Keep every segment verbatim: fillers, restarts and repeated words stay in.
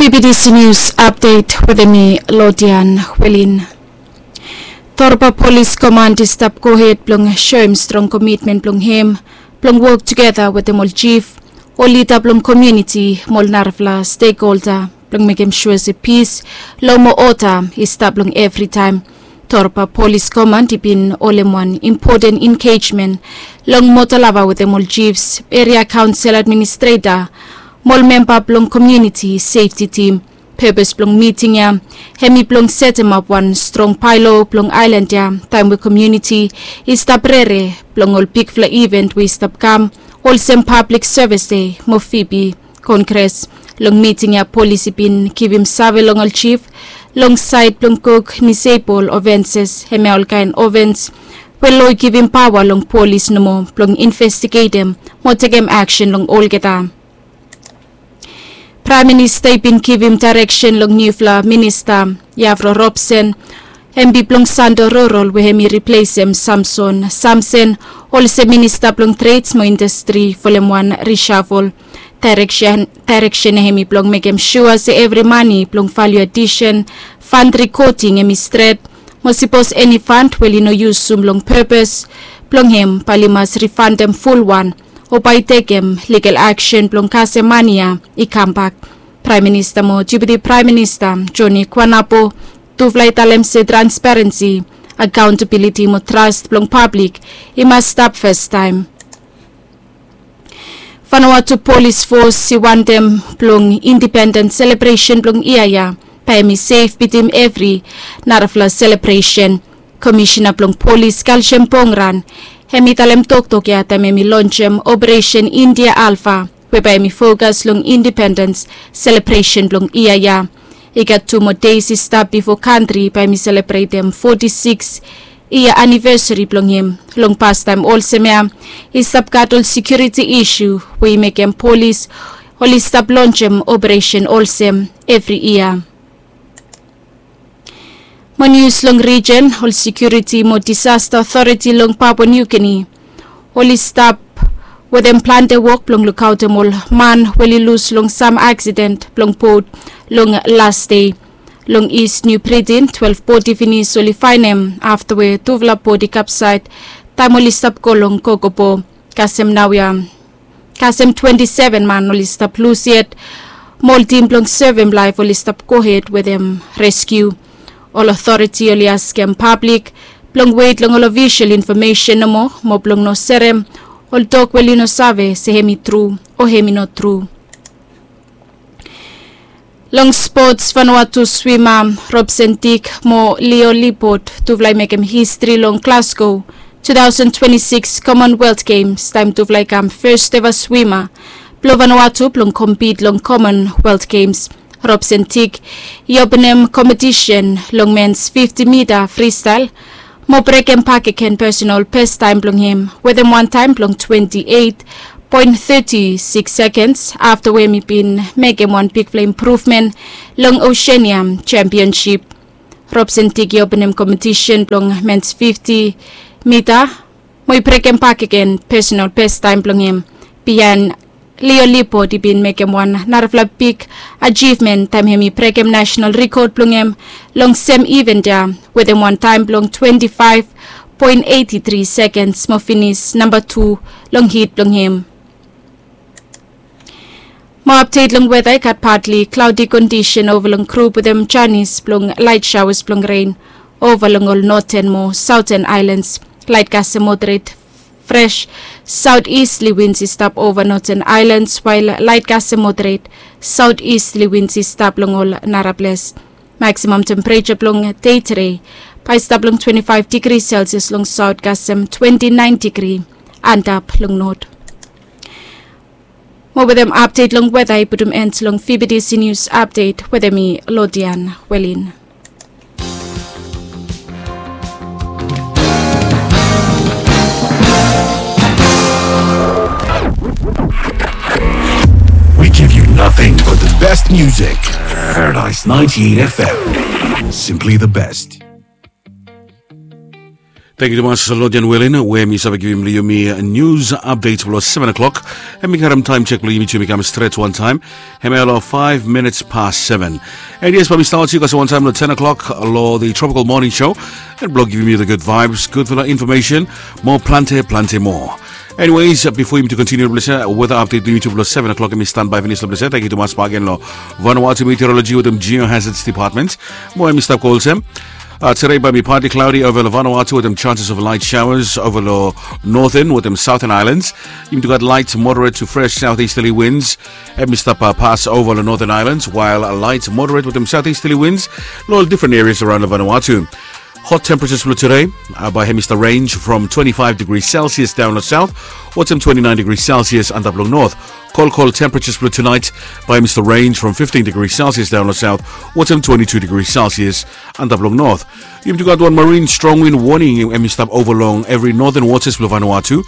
B B T C News Update wetem mi, Lodian Welin. Torba Polis Komand i stap gohed blong soem strong komitmen blong hem blong wok tugeta wetem ol jif, ol lida blong komuniti mo ol narafala stekholda blong mekem sua se pis, lo mo oda i stap long evritaem. Torba Polis Komand i bin holem wan impoten engejmen long Motalava wetem ol jifs, eria kaonsel administreta mo ol memba blong komuniti sefti tim. Pepes blong miting ya hemi blong setemap wan strong baelo blong aelan ya taem we komuniti i stap rere blong ol bigfala iven we i stap kam, olsem pablik sevis dei mo fibi kongres. Long miting ya polis i bin givim save long ol jif long saed blong kuk nisebol ofenses, hemia olkaen ofens we lo i givim paoa long polis nomo blong investigetem mo tekem aksen long olgeta. Praem Minista i bin givim daereksen long niufala minista, Yavro Robson, hemi blong Santo Rurol, we hemi riplesem Samson Samsen olsem minista blong treds mo indastri folem wan risafol. Daereksen, daereksen hemi blong mekem sua se evri mane blong value addition, fund recording hemi stret, mo sipos eni fund we oli no yusum long pepes blong hem, bae oli mas rifandem fulwan o bae i tekem ligal aksen blong kasem mane ya i kambak. Praem Minista mo Deputi Praem Minista Joni Kuanapo, tufala i talem se transparensi, akaontabiliti mo tras blong pablik i mas stap fastaem. Vanuatu Polis Fos i wantem blong indipenden selebresen blong yia ya bae hemi sef bitim evri narafala selebresen. Komisena blong Polis Kalsem Pongran hemi talem toktok ya taem hemi lonsem Operesen India Alpha, we bae hemi fokas long indipendens selebresen blong yia ya. I gat tu moa deis i stap bifo kantri bae hemi selebretem foti sikis yia anivesari blong hem. Long pastaem olsem ya i stap gat ol sekiuriti isu we i mekem polis oli stap lonsem operesen olsem evri yia. Mo nius long rijen, ol sekiuriti mo disasta otoriti long Papua Niu Gini oli stap wetem plante wok blong lukaotem ol man we oli lus long sam aksiden blong bot long las dei. Long Is Niu Britin, twelef bodi finis oli faenem afta we tufala bodi kapsaed taem oli stap go long Kokopo. Kasem naoia kasem twenti seven man oli stap lus yet, mo ol tim blong sevem laef oli stap gohed wetem reskiu. Ol otoriti oli askem pablik blong wet long ol ofisol infomesen nomo, mo blong no serem ol tok we oli no save se hemi tru o hemi no tru. Long spots, Vanuatu swima Robson Dick mo Leo Libot, tufala i mekem histri long Glasgow two thousand twenty-six Commonwealth Games taem tufala i kam fes eva swima blong Vanuatu blong kompit long Commonwealth Games. Robson Dick i openem kompetisen long mens fifti mita fristael mo brekem bakegen pesonal bes taem blong hem wetem wan taem blong twenti eit poen teti sikis sekens afta we hemi bin mekem wan bigfala impruvmen long Oseania Sempionsip. Robson Dick i openem kompetisen blong mens fifti mita mo i brekem bakegen pesonal bes taem blong hem, biaen Leo Libot i bin mekem wan narafala big ajivmen taem hemi brekem nasenal rikod blong hem long sem iven ya wetem wan taem blong twenti faef poen eiti tri sekens mo finis namba tu long hit blong hem. Mo apdet long weta, i gat patli klaodi kondisen ova long grup wetem janis blong laet saoas blong ren ova long ol noten mo saoten aelans. Laet kasem moderet fres saotistli wins i stap ova noten aelans, wael laet kasem moderet saotistli wins i stap long ol nara ples. Maksimam tempereja blong dei tede bae i stap long twenti faef digri Selsias long saot kasem twenti naen digri antap long not. Mo wetem apdet long weta i putum en long V B T C News Update wetem mi, Lodian Welin. We give you nothing but the best music. Paradise ninety-eight F M. Simply the best. Tangkiu tumas long Jan Welin we mi save givim long yumi nius apdet blong seven o'clock. Em i karim taim sek blong yumi tu mi kam stret wantaim. Em ya long five minutes past seven. And yes, bae mi stat olsem wantaim long ten o'clock long the Tropical Morning Show. And blong givim yu the good vibes, gudfala information, mo plante plante moa. Anyways, bifo yumi tu kontiniu blong se weda apdet blong yumi tu blong seven o'clock em i stanbae finis long blong se. Tangkiu tumas bagen long Vanuatu Meteorology wetem Geohazards Department. Mo em i stap go olsem, uh, today bae mi partly cloudy over long Vanuatu wetem chances of light showers over long northern wetem southern islands. Yumi tu gat light moderate to fresh southeasterly winds. Em i stap uh, pass over long northern islands, while a light moderate wetem southeasterly winds long different areas around long Vanuatu. Hot temperatures blong today uh, bae em i stap range from twenty-five degrees Celsius down long south wetem twenty-nine degrees Celsius antap long north. Kolkol temperatures blong tonight bae em i stap range from fifteen degrees Celsius down long south wetem twenty-two degrees Celsius antap long north. Yumi tu gat wan marine strong wind warning em i stap over long every northern waters blong Vanuatu.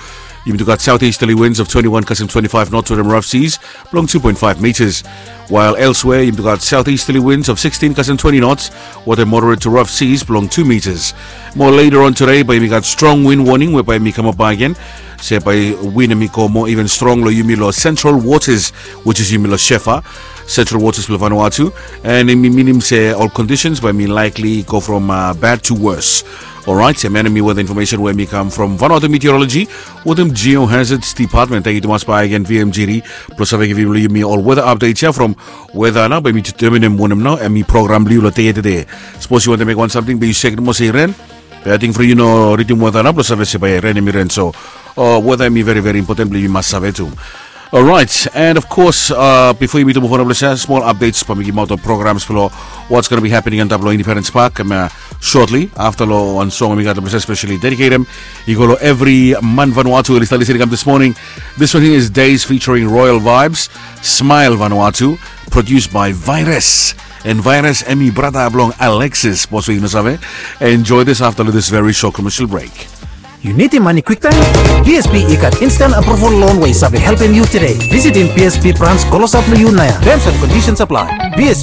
Yumi tu gat southeasterly winds of twenty-one kasem twenty-five knots wetem rough seas blong two point five meters. While elsewhere, yumi tu gat southeasterly winds of sixteen kasem twenty knots wetem moderate to rough seas blong two meters. Mo later on today bae yumi gat strong wind warning we bae em i kamap bagen. Se bae wind em i go moa even strong long yumi long central waters, which is yumi long Shefa, central waters blong Vanuatu. And em i minim se ol conditions bae em i likely go from uh, bad to worse. Alright, em ya em i weather information we em i kam from Vanuatu Meteorology wetem Geohazards Department. Tangkiu tumas bagen V M G D blong save givim long yumi ol weather updates ya from weather nao bae em i determinem wanem nao em i program blong yu long dei ya tede. Sapos yu wantem mekem wan samting be yu sekem olsem i ren. Be ating from yu no ridim weather nao blong save se bae ren em i ren so. O weather em i veri veri impoten blong yumi mas save tu. Alright, and of course uh, bifo yumi tu move on blong se smol updates bae mi givimaot ol programs blong what's gonna be happening antap long Independence Park em uh, shortly afta long wan song em i gat blong se especially dediketem i go long evri man Vanuatu we oli stap lisin i kam this morning. This one here is Days featuring Royal Vibes, Smile Vanuatu, produced by Virus. And Virus em i brata blong Alexis, bos we yu no save. Enjoy this afta long this very short commercial break. Yu nidim mane kwiktaem? B S B i gat instant approval loan we i save helpem yu today. Visitim B S B brans klosap long yu naoia. Terms and conditions apply. B S B